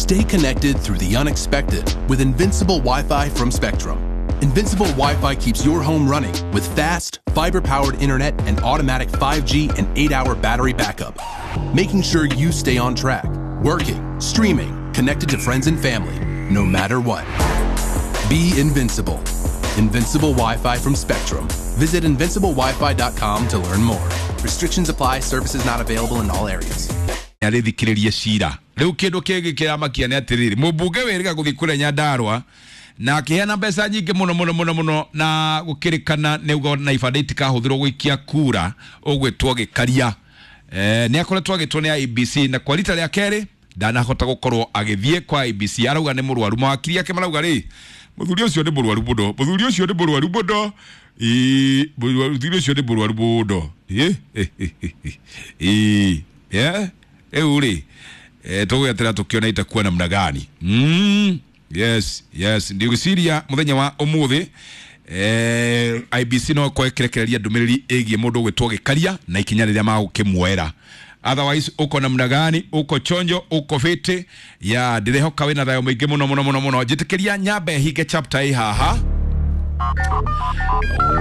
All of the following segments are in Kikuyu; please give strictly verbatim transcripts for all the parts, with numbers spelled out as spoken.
Stay connected through the unexpected with Invincible Wi-Fi from Spectrum. Invincible Wi-Fi keeps your home running with fast, fiber-powered internet and automatic five G and eight-hour battery backup, making sure you stay on track, working, streaming, connected to friends and family, no matter what. Be invincible. Invincible Wi-Fi from Spectrum. Visit invincible wifi dot com to learn more. Restrictions apply. Services not available in all areas. Arĩthikĩrĩrie cira rĩu kĩndũ kĩngĩ kĩramakia nĩ atĩrĩrĩ mũmbunge wĩrĩga gũthiĩ kũrĩa Nyandarua na akĩheana mbeca nyingĩ mũno mũno mũno mũno na gũkĩrĩkana nĩ uga na ibandĩ itikahũthĩrwo gũikia kura ũgwĩtwo Gĩkaria. Eh, nĩ akoretwo agĩtwo nĩ I E B C na kwa rita rĩa kerĩ ndanahota gũkorwo agĩthiĩ kwa I E B C arauga nĩ mũrwaru mawakiri ake marauga rĩ mũthuri ũcio nĩ mũrwaru mũno mũthuri ũcio nĩ mũrwaru mũno ĩĩ mũthuri ũcio nĩ mũrwaru mũno ĩĩ ĩĩ yeah rĩu rĩ eh tũgwetera tũkĩona itakuwa namna gani. Mm, yes yes ndigwĩciria mũthenya wa ũmũthĩ eh I B C no kwekerekereria ndũmĩrĩri ĩgiĩ mũndũ ũgwĩtwo Gĩkaria na ikinya rĩrĩa magũkĩmuoera. Otherwise uko namna gani, uko chonjo, uko fiti ya ndirehoka wĩna thayũ mũingĩ mũno mũno mũno mũno. Njĩtĩkĩria nyambe hinge chapter ĩ haha.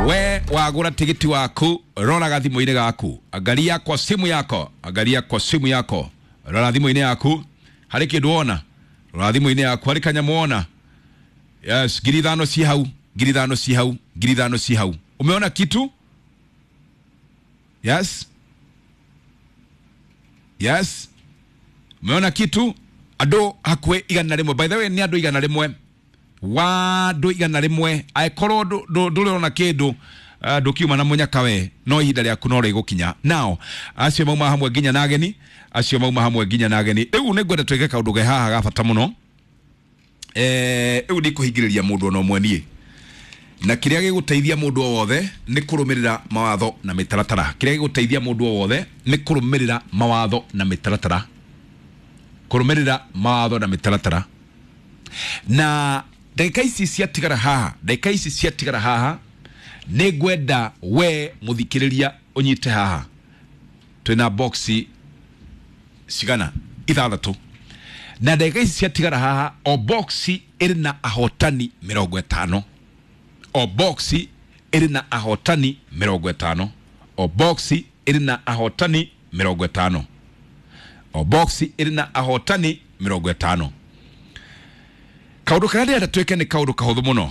We wagũra tigiti waku rora gathimũ-inĩ gaku, angalia kwa simu yako, angalia kwa simu yako, rora thimũ-inĩ yaku harĩ kĩndũ wona, rora thimũ-inĩ yaku harĩ kanyamũ wona. Yes, ngiri ithano ci hau, ngiri ithano ci hau, ngiri ithano ci hau. Umeona kitu? Yes, yes, umeona kitu? Andũ hakuhĩ igana rĩmwe, by the way nĩ andũ igana rĩmwe wa andũ igana rĩmwe angĩkorwo ndũrona kĩndũ ndũkiuma na mũnyaka we no ihinda rĩaku no rĩgũkinya. Now acio mauma hamwe nginya na ageni, acio mauma hamwe nginya na ageni. Rĩu nĩ ngwenda twĩke kaũndũ ge haha ga bata mũno. Eh rĩu ndikũhingĩrĩria mũndũ ona ũmwe niĩ, na kĩrĩa gĩgũteithia mũndũ o wothe nĩ kũrũmĩrĩra mawatho na mĩtaratara. Kĩrĩa gĩgũteithia mũndũ o wothe nĩ kũrũmĩrĩra mawatho na mĩtaratara, kũrũmĩrĩra mawatho na mĩtaratara. Na ndagĩka ici ciatigara haha, ndagĩka ici ciatigara haha nĩ ngwenda we mũthikĩrĩria ũnyite haha. Twĩna boxi cigana ithathatũ, na ndagĩka ici ciatigara haha o boxi ĩrĩ na ahotani mĩrongo ĩtano, o boxi ĩrĩ na ahotani mĩrongo ĩtano, o boxi ĩrĩ na ahotani mĩrongo ĩtano, o boxi ĩrĩ na ahotani mĩrongo ĩtano. Kaũndũ karĩa ndĩrenda twĩke nĩ kaũndũ kahũthũ mũno.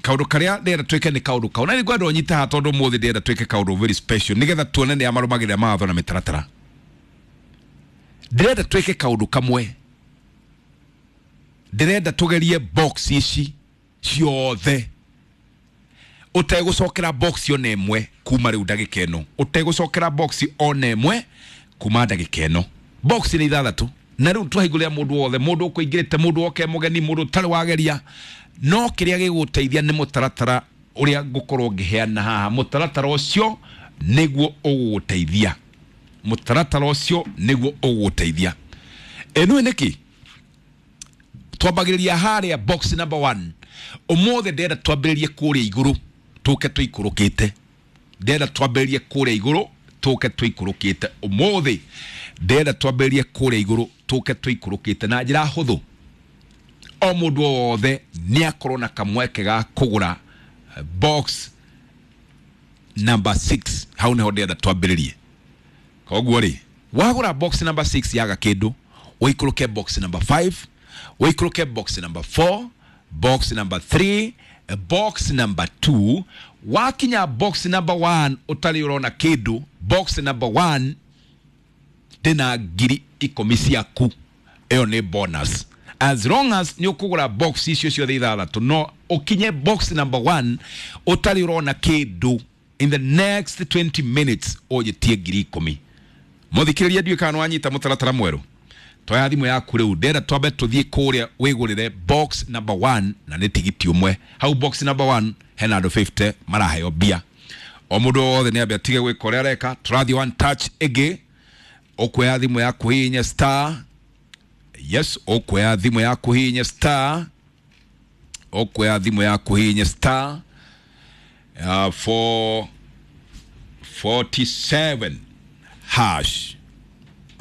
Kaũndũ karĩa ndĩrenda twĩke nĩ kaũndũ kau, na nĩ ngwenda ũnyite haha tondũ ũmũthĩ ndĩrenda twĩke kaũndũ very special nĩgetha tuone nĩa marũmagĩrĩra mawatho na mĩtaratara. Ndĩrenda twĩke kaũndũ kamwe, ndĩrenda tũgerie box ici ciothe ũtegũcokera box ona ĩmwe kuma rĩu ndagĩka ĩno, ũtegũcokera box ona ĩmwe kuma ndagĩka ĩno. Box nĩ ithathatũ na rĩu twahingũrĩra mũndũ wothe, mũndũ ũkũingĩrĩte, mũndũ woke mũgeni, mũndũ ũtarĩ wageria. No kĩrĩa gĩgũteithia nĩ mũtaratara ũrĩa ngũkorwo ngĩheana haha. Mũtaratara ũcio nĩguo ũgũgũteithia, mũtaratara ũcio nĩguo ũgũgũteithia. Ĩno nĩkĩ twambagĩrĩria harĩa box number one. Ũmũthĩ ndĩrenda twambĩrĩrie kũrĩa igũrũ tũke tũikũrũkĩte, ndĩrenda twambĩrĩrie kũrĩa igũrũ tũke tũikũrũkĩte. Ũmũthĩ ndĩrenda twambĩrĩrie kũrĩa igũrũ tũke tũikũrũkĩte na njĩra hũthũ. O mũndũ wothe nĩ akorwo na kamweke ga kũgũra box number six. Hau nĩho ndĩrenda twambĩrĩrie. Koguo rĩ, wagũra box number six yaga kĩndũ, ũikũrũke box number five, ũikũrũke box number four, box number three, box number two. Wakinya box number one ũtarĩ ũrona kĩndũ, box number one ndĩna ngiri ikũmi ciaku. Ĩyo nĩ bonus. As long as nĩ ũkũgũra box icio ciothe ithathatũ no ũkinye box number one ũtarĩ ũrona kĩndũ in the next twenty minutes ũnjĩtie ngiri ikũmi. Mũthikĩrĩria ndiũĩ kana nĩwanyita mũtaratara mwerũ. Toya thimũ yaku rĩu, ndĩrenda twambe tũthiĩ kũrĩa wĩgũrĩre box number one na nĩ tigiti ũmwe. Hau box number one hena andũ fifty maraheo mbia. O mũndũ wothe nĩ ambe atige gwĩka ũrĩa areka. Tũrathiĩ one touch ĩngĩ. Ũkuoya thimũ yaku hihinye star, yes, ũkuoya thimũ yaku hihinye star, ũkuoya thimũ yaku hihinye star uh, four forty-seven hash.